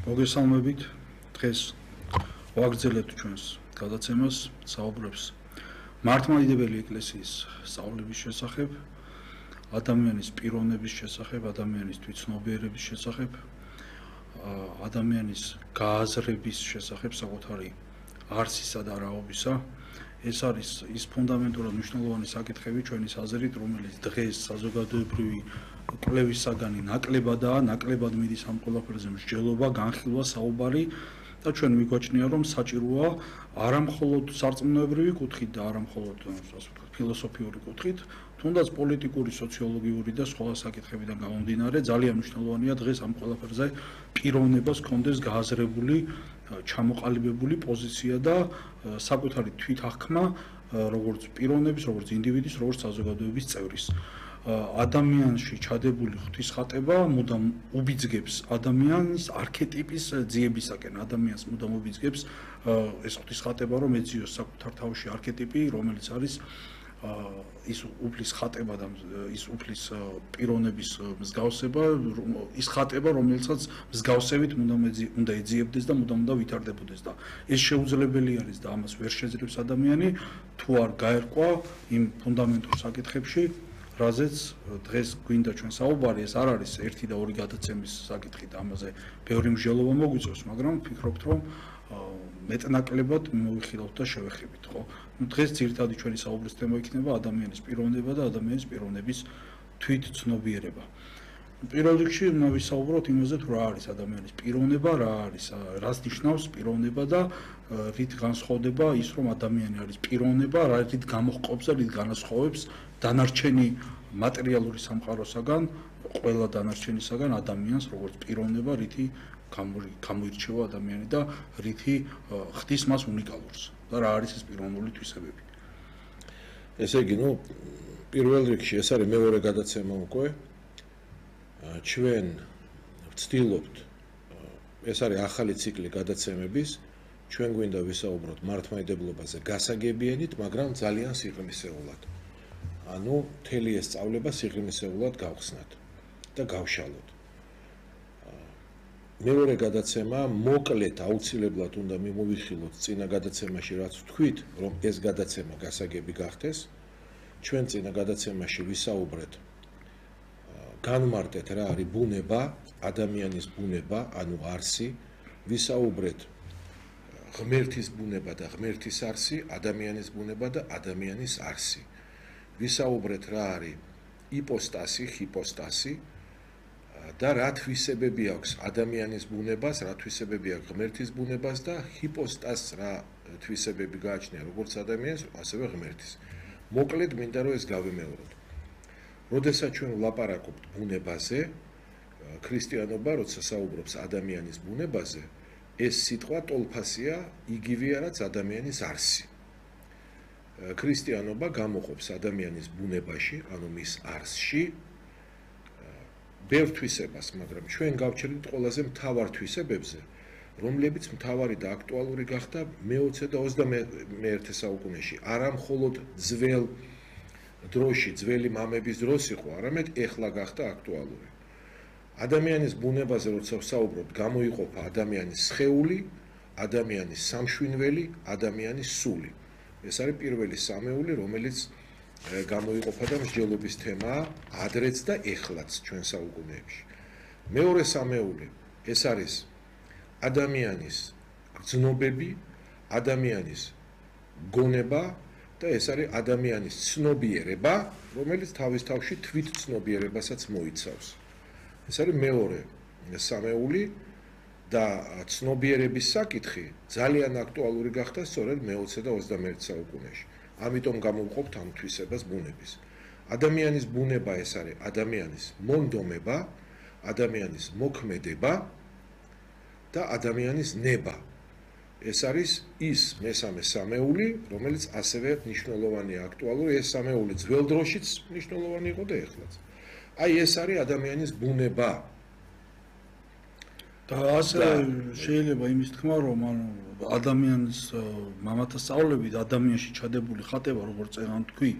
მოგესალმებით. დღეს ვაგრძელებთ ჩვენს გადაცემას, საუბრებს მართლმადიდებელი ეკლესიის სწავლების შესახებ, ადამიანის პიროვნების შესახებ, ადამიანის თვითცნობიერების შესახებ, ადამიანის გააზრების შესახებ საკუთარი არსისა და რაობისა. ეს არის ის ფუნდამენტურად მნიშვნელოვანი საკითხები ჩვენი აზრით, რომელიც დღეს საზოგადოებრივი კვლევის საგანი ნაკლებად მიდის ამ ყველაფერზე მსჯელობა, განხილვა, საუბარი და ჩვენ მიგვაჩნია, რომ საჭიროა არა მხოლოდ სარწმუნოებრივი კუთხით და არა მხოლოდ ფილოსოფიური კუთხით, თუნდაც პოლიტიკური, სოციოლოგიური და სხვა საკითხებიდან გამომდინარე, ძალიან მნიშვნელოვანია დღეს ამ ყველაფერზე პიროვნებას ჰქონდეს გააზრებული, ჩამოყალიბებული პოზიცია და საკუთარი თვითახკმა, როგორც პიროვნების, როგორც ინდივიდის, როგორც საზოგადოების წევრის. ადამიანში ჩადებული ღვთისხატება მუდამ უბიძგებს ადამიანის არქეტიპის ძიებისაკენ. ადამიანს მუდამ უბიძგებს ეს ღვთისხატება, რომ ეძიოს საკუთარ თავში არქეტიპი, რომელიც არის ის უფლის ხატება და ის უფლის პიროვნების მსგავსება, ის ხატება, რომელსაც მსგავსებით უნდა ეძიებდეს და მუდამ უნდა ვითარდებოდეს და ეს შეუძლებელი არის და ამას ვერ შეძლებს ადამიანი, თუ არ გაერკვა იმ ფუნდამენტურ საკითხებში, რაზეც დღეს გვინდა ჩვენ საუბარი. ეს არ არის ერთი და ორი გადაცემის საკითხი და ამაზე ბევრი მსჯელობა მოგვიწევს, მაგრამ ვფიქრობთ, რომ მეტნაკლებად მოვიხილავთ და შევეხებით, ხო? დღეს ძირითადი ჩვენი საუბრის თემა იქნება ადამიანის პიროვნება და ადამიანის პიროვნების თვითცნობიერება. პირველ რიგში უნდა ვისაუბროთ იმაზე, თუ რა არის ადამიანის პიროვნება, რას ნიშნავს პიროვნება და რით განსხვავდება ის, რომ ადამიანი არის პიროვნება, რით გამოჰყოფს და რით განასხვავებს დანარჩენი მატერიალური სამყაროსაგან, ყველა დანარჩენისაგან ადამიანს როგორც პიროვნება, რითი გამოირჩევა ადამიანი და რითი ხდის მას უნიკალურს და რა არის ეს პიროვნული თვისებები. ესე იგი, პირველ რიგში ეს არის მეორე გადაცემა უკვე. ჩვენ ვცდილობთ, ეს არის ახალი ციკლი გადაცემების, ჩვენ გვინდა ვისაუბროთ მართლმადიდებლობაზე გასაგებიანით, მაგრამ ძალიან სიღრმისეულად. ანუ მთელი ეს სწავლება სიღრმისეულად გავხსნათ და გავშალოთ. მეორე გადაცემა მოკლედ აუცილებლად უნდა მიმოვიხილოთ წინა გადაცემაში, რაც ვთქვით, რომ ეს გადაცემა გასაგები გახდეს. ჩვენ წინა გადაცემაში ვისაუბრეთ, განმარტეთ რა არის ბუნება, ადამიანის ბუნება, ანუ არსი, ვისაუბრეთ ღმერთის ბუნება და ღმერთის არსი, ადამიანის ბუნება და ადამიანის არსი. ვისაუბრეთ რა არის იპოსტასი, ჰიპოსტასი და რა თვისებები აქვს ადამიანის ბუნებას, რა თვისებები აქვს ღმერთის ბუნებას და ჰიპოსტასს რა თვისებები გააჩნია როგორც ადამიანის, ასევე ღმერთის. მოკლედ მინდა რომ ეს გავიმეოროთ. როდესაც ჩვენ ვლაპარაკობთ ბუნებაზე, ქრისტიანობა როცა საუბრობს ადამიანის ბუნებაზე, ეს სიტყვა ტოლფასია, იგივეა რაც ადამიანის არსი. ქრისტიანობა გამოყოფს ადამიანის ბუნებაში, ანუ მის არსში ბევრ თვისებას, მაგრამ ჩვენ გავჩერდით ყველაზე მთავარ თვისებებზე, რომლებიც მთავარი და აქტუალური გახდა მე-20 და 21 საუკუნეში. არა მხოლოდ ძველ დროში, ძველი მამების დროს იყო, არამედ ეხლა გახდა აქტუალური. ადამიანის ბუნებაზე როცა ვსაუბრობთ, გამოიყოფა ადამიანის სხეული, ადამიანის სამშვინველი, ადამიანის სული. ეს არის პირველი სამეული, რომელიც გამოიყოფა და მსჯელობის თემაა ადრეც და ეხლაც ჩვენ საუკუნეებში. მეორე სამეული, ეს არის ადამიანის გრძნობები, ადამიანის გონება და ეს არის ადამიანის ცნობიერება, რომელიც თავის თავში თვითცნობიერებასაც მოიცავს. ეს არის მეორე სამეული და ცნობიერების საკითხი ძალიან აქტუალური გახდა სწორედ მე-20 და 21 საუკუნეში. ამიტომ გამოვყოფთ ამ თვისებას ბუნების. ადამიანის ბუნება ეს არის ადამიანის მონდომება, ადამიანის მოქმედება და ადამიანის ნება. ეს არის ის მესამე სამეული, რომელიც ასევე მნიშვნელოვანია, აქტუალური. ეს სამეული ძველ დროშიც მნიშვნელოვანი იყო და ეხლაც. აი ეს არის ადამიანის ბუნება. და ასე შეიძლება იმის თქმა, რომ ადამიანის მამათა სწავლებით ადამიანში ჩადებული ხატება, როგორც წეგან თქვი,